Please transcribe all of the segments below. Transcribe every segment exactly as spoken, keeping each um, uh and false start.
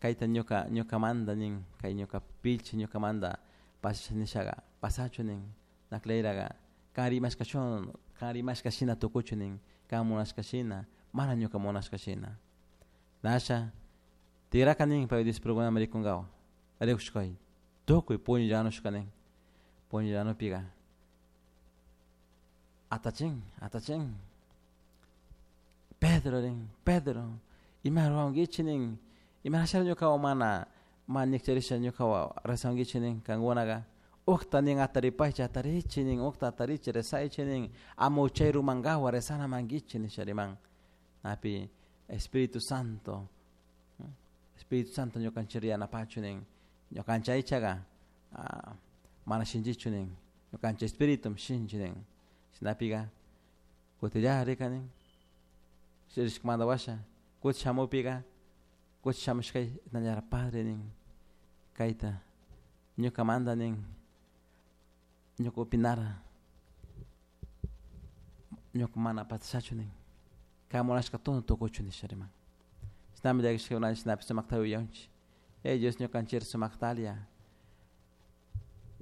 Kayta ñuka ñukamanta nin kay ñuka pilchi ñukamanta pasasha nishaga pasachu nin Nacleiraga kan rimashkashun kan rimashka shina tukuchu nin kan munashka shina mana ñuka munashka shina nasha tigraka nin pay discipulukunaman rikunkawa rikushkay tukuy puñullanushka nin puñullanupiga atachin atachin Pedro nin Pedro ima ruwankichik nin imarashara ñukawan mana mana ñikcharisha ñukawan rezankichik nin kankunaga ukta nin ataripaychik atarichik nin ukta atarichik rezaychik nin ama uchay rumankawan rezana mankichik nisha riman napi Espíritu Santo Espíritu Santo ñukanchik yanapachu nin ñukanchik aychaga mana shinchichu nin ñukanchik espíritu shinchi nin chashnapiga kutilla rika nin rishkamanta washa kutin shamukpiga kutin shamushkay nallara padre nin kayta ñukamanta nin ñuka opinara ñuka mana pasashachu nin kan munashka todo tukuchun nisha riman chishnami llakishkakuna chishnapish sumakta yuyanchik hey Dios ñukanchik sumaktalia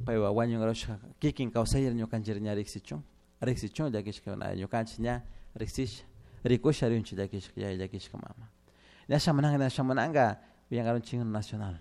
paywan wañunkarushka kikin kawsayta ñukanchik ña riksichun riksichun llakishkakuna ñukanchik ña riksisha rikusha rinchik llakishka yaya llakishka mama ña shamunanka ña shamunanka willakarunchik nacional.